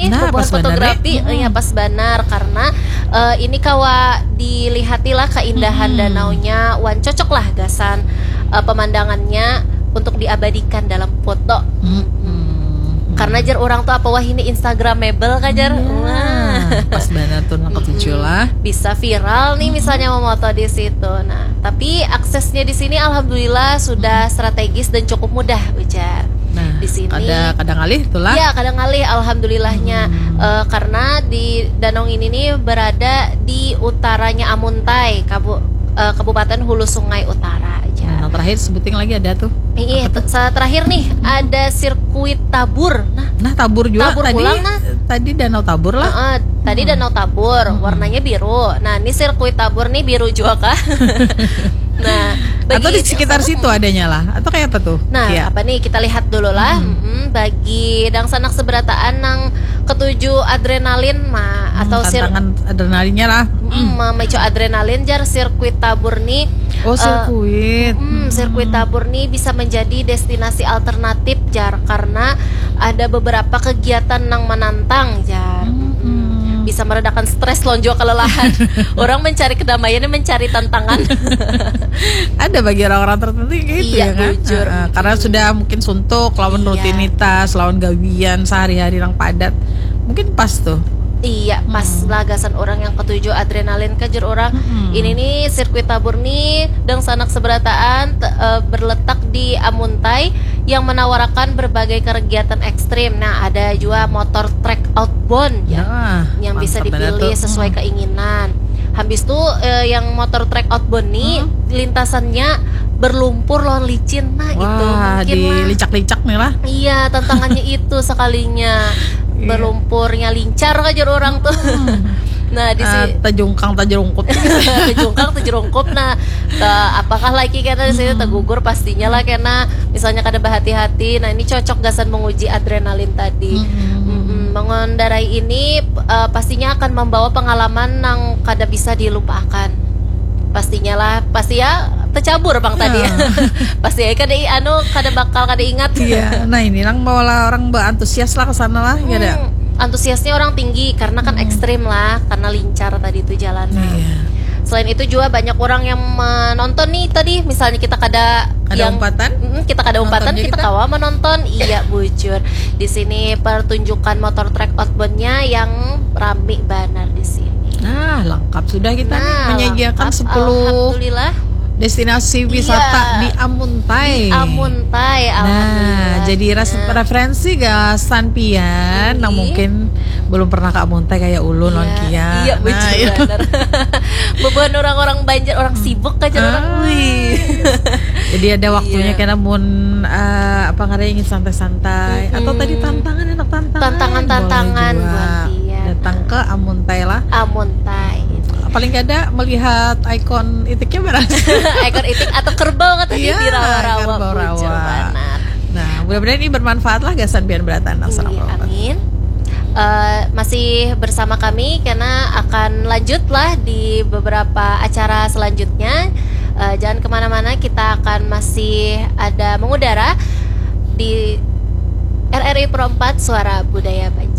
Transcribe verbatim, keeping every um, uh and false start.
Nah, pas banar, fotografi, eh, ya, pas banar karena, eh, ini kawa dilihati lah keindahan danaunya, wan cocok lah gasan, eh, pemandangannya untuk diabadikan dalam foto. Karena jar orang tuh apa wah ini Instagramable kan jar. Wah. Pas banar tuh nang ketujuh lah. Bisa viral nih misalnya memoto di situ. Nah, tapi aksesnya di sini alhamdulillah sudah strategis dan cukup mudah ujar. Nah, di sini kada, kada ngalih tuh lah. Ya, kada ngalih alhamdulillahnya. Eh, karena di danau ini nih berada di utaranya Amuntai, Kabu-, eh, Kabupaten Hulu Sungai Utara aja. Nah, terakhir sebuting lagi ada tuh. Iya, terakhir nih ada sirkuit Tabur. Nah, nah Tabur juga. Tabur tadi, pulang, nah. Tadi Danau Tabur lah. Uh-uh, tadi Danau Tabur, warnanya biru. Nah, ini sirkuit Tabur nih biru juga kah? Nah, atau di sekitar situ adanya lah, atau kayak apa tuh? Nah, apa nih, kita lihat dulu lah. Mm-mm, bagi dangsanak seberataan nang ketuju adrenalin mah, hmm, atau sir- tantangan adrenalinnya lah. Mm, memicu adrenalin jar sirkuit Tabur nih. Oh, eh, sirkuit. Mm, sirkuit Tabur nih bisa menjadi destinasi alternatif jar karena ada beberapa kegiatan yang menantang jar. Mm, bisa meredakan stres lawan juga kelelahan. Orang mencari kedamaian, mencari tantangan. Ada bagi orang-orang tertentu kayak gitu. Iya, ya kan? Bujur. Karena sudah mungkin suntuk lawan rutinitas, lawan gawian sehari-hari yang padat. Mungkin pas tuh. Iya, pas lah gasan orang yang ketuju adrenalin, kajar orang. Ini nih sirkuit Tabur nih dangsanak seberataan, eh, berletak di Amuntai yang menawarkan berbagai kegiatan ekstrim. Nah, ada juga motor trek outbound ya, yang bisa dipilih sesuai keinginan. Habis tuh, eh, yang motor trek outbound nih lintasannya berlumpur lawan licin. Nah, itu mungkin lah. Wah, dilicak-licak nih lah. Iya, tantangannya itu sekalinya. Berlumpurnya lincar aja orang tuh. Nah, di sini tajungkang tajungkup. Tajungkang tajungkup. Nah, apakah lagi kena di sini tegugur, pastinya lah kena misalnya kada berhati-hati. Nah, ini cocok gasan menguji adrenalin tadi. Mm-mm. Mengendarai ini, eh, pastinya akan membawa pengalaman yang kada bisa dilupakan. Pastinya lah, pasti ya tercabur bang tadi. Pasti ya kada i-, anu, kada bakal kada ingat. Iya, nah ini nang bawa lah orang berantusias lah ke sana lah, ya ada. Antusiasnya orang tinggi karena kan ekstrim lah, karena lincar tadi itu jalannya. Iya. Selain itu juga banyak orang yang menonton nih tadi, misalnya kita kada, kada yang umpatan? Mm, kita kada umpatan, kita kawa menonton. Iya, bujur. Di sini pertunjukan motor trek outboundnya yang rami banar di sini. Nah, lengkap sudah kita nih menyajikan sepuluh destinasi wisata di Amuntai. Di Amuntai, alhamdulillah. Nah, jadi referensi gasan pian nang mungkin belum pernah ke Amuntai kayak ulun lawan Kia. Iya, betul, benar. Bebuhan orang-orang Banjar, orang sibuk aja orang. Wih. Jadi ada waktunya kena mun, eh, apa ngarannya, ingin santai-santai atau tadi tantangan, enak tantangan. Tantangan-tantangan buat Kia. Datang ke Amuntai lah. Amuntai. Paling kada melihat ikon itiknya barang. Ikon itik atau kerbau katanya di rawa-rawa. Kerbau rawa. Nah, mudah-mudahan ini bermanfaat lah gasan pian berataan. Amin. Eh, masih bersama kami karena akan lanjutlah di beberapa acara selanjutnya. Eh, jangan kemana-mana, kita akan masih ada mengudara di R R I Pro empat Suara Budaya Banjar.